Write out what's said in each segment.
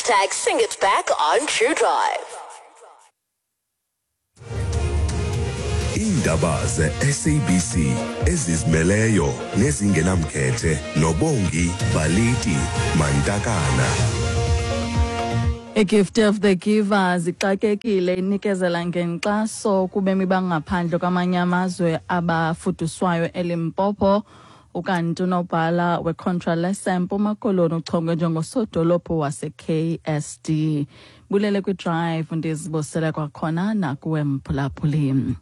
Hashtag sing it back on True Drive. Iindaba ze-SABC ezizimeleyo nezingenamkhethe noBongi Baliti Mantakana. I-Gift of the Givers ixakekile inikezela ngenkxaso kubemi bangaphandle kwamanye amazwe abafuduswayo eLimpopo. Ukanti unobhala weContralesa eMpuma Koloni uchongwe njengosodolophu wase-KSD. Bulele kwiDrive, ndizibusele kwakhona nakuwe mphulaphuli.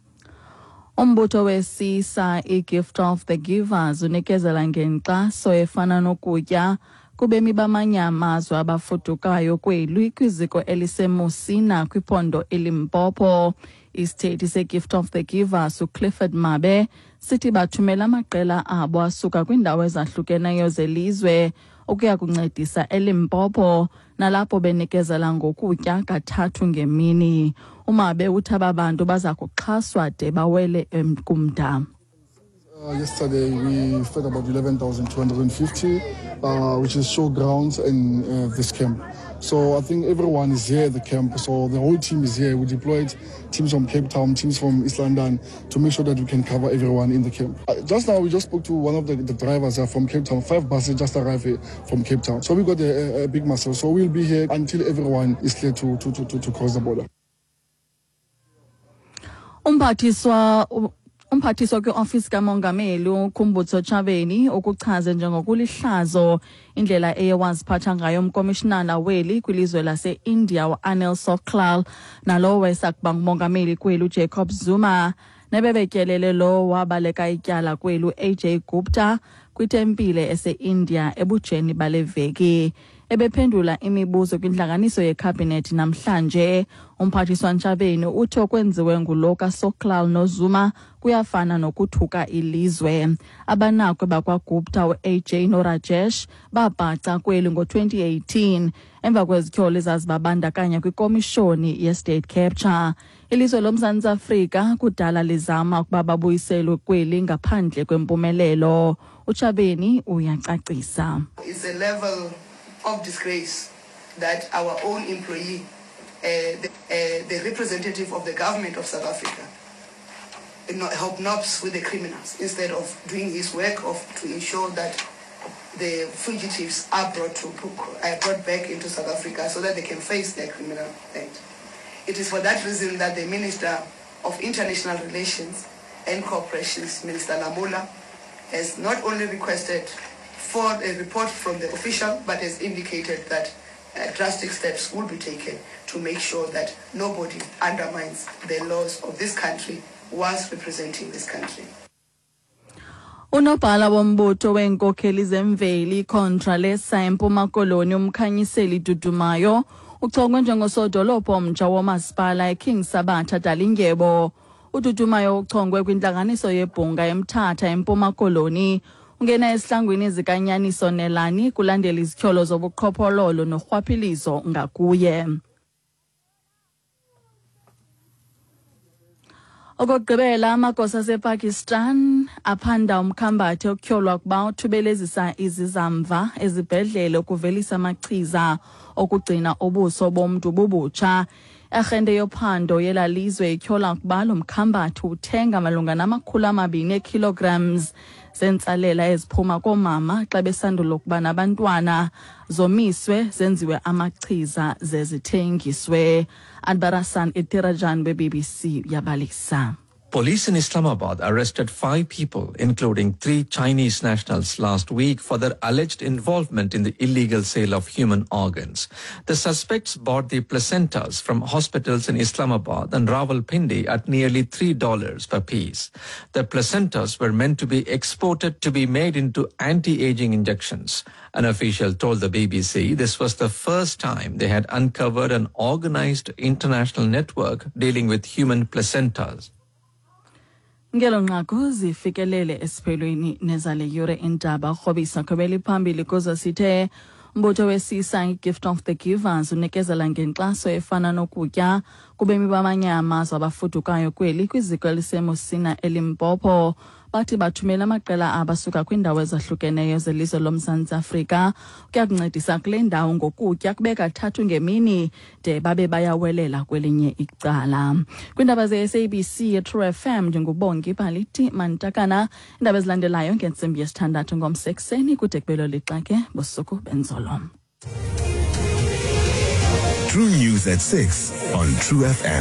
Umbutho wesisa i-Gift of the Givers unikezela ngenkxaso efana nokutya kubemi bamanye amazwe abafudukayo kweli kwiziko eliseMusina kwiphondo iLimpopo. Isithethi seGift of the Givers uClifford Mabe sithi bathumela amaqela abo asuka kwiindawo ezahlukeneyo zelizwe ukuya kuncedisa eLimpopo nalapho benikezela ngokutya kathathu ngemini. UMabe uthi aba bantu baza kuxhaswa de bawele kumda. Yesterday we fed about 11,250, which is showgrounds and this camp. So I think everyone is here at the camp. So the whole team is here. We deployed teams from Cape Town, teams from East London to make sure that we can cover everyone in the camp. Just now we just spoke to one of the drivers from Cape Town. 5 buses just arrived here from Cape Town. So we got a big muscle. So we'll be here until everyone is clear to cross the border. Umphathiswa kwiofisi kamongameli uKhumbudzo Ntshavheni ukuchaze njengokulihlazo indlela eye waziphatha ngayo umkomishinala weli kwilizwe lase-India uAnil Sooklal nalowo wayesakuba ngumongameli kweli uJacob Zuma nebebetyelele lo wabaleka ityala kweli u-AJ Gupta kwitempile ese-India ebujeni bale veki. Ebephendula imibuzo kwintlanganiso yekhabhinethi namhlanje, umphathiswa Ntshavheni uthi okwenziwe ngulo kaSooklal noZuma kuyafana nokuthuka ilizwe. Abanakwe bakwaGupta u-AJ noRajesh babhaca kweli ngo-2018 emva kwezityholo ezazibabandakanya kwikomishoni ye-State Capture. Ilizwe loMzantsi Afrika kudala lizama ukuba babuyiselwe kweli ngaphandle kwempumelelo. UNtshavheni uyacacisa. It's a level of disgrace that our own employee, the representative of the government of South Africa, hobnobs with the criminals instead of doing his work of to ensure that the fugitives are brought to book, brought back into South Africa so that they can face their criminal end. It is for that reason that the Minister of International Relations and Cooperation, Minister Lamola, has not only requested for a report from the official, but has indicated that drastic steps will be taken to make sure that nobody undermines the laws of this country whilst representing this country. Unobhala wombutho weenkokheli zemveli Contralesa eMpuma Koloni uMkhanyiseli Dudumayo uchongwe njengosodolophu omtsha womasipala eKing Sabatha Dalindyebo. UDudumayo uchongwe kwintlanganiso yebhunga eMthatha eMpuma Koloni. Ungena esihlangwini zikaNyaniso Nelani kulandela izityholo zobuqhophololo norhwaphilizo ngakuye. Okokugqibela, amagosa asePakistan aphanda umkhambathi okutyholwa ukuba uthubelezisa izizamva ezibhedlele ukuvelisa amachiza okugcina ubuso bomntu bubutsha. Arhente yophando yela lizwe ityhola ukuba lo mkhambathi uthenga malunga nama-200 eekilograms zentsalela eziphuma koomama xa besandula ukuba nabantwana, zomiswe zenziwe amachiza zezithengiswe. Anbarasan Ethirajan we-BBC yabalisa. Police in Islamabad arrested 5 people, including 3 Chinese nationals last week for their alleged involvement in the illegal sale of human organs. The suspects bought the placentas from hospitals in Islamabad and Rawalpindi at nearly $3 per piece. The placentas were meant to be exported to be made into anti-aging injections. An official told the BBC this was the first time they had uncovered an organized international network dealing with human placentas. Ngelo nqaku zifikelele esiphelweni nezale yure indaba. Rhobisa khobeli phambili kuzo sithe umbutho wesisa i-Gift of the Givers unikezela ngenkxaso efana nokutya kubemi bamanye amazwe abafudukayo kweli kwiziko eliseMusina eLimpopo. Bathi bathumela amaqela abasuka kwiindawo ezahlukeneyo zelizwe loMzantsi Afrika ukuya kuncedisa kule ndawo ngokutya kube kathathu ngemini de babe bayawelela kwelinye icala. Kwiindaba ze-SABC True FM, ndinguBongi Baliti Mantakana. Iindaba ezilandelayo ngentsimbi yesithandathu ngomso ekuseni. Kude kubelo lixa ke, busuku benzolo. True News at 6 on True FM.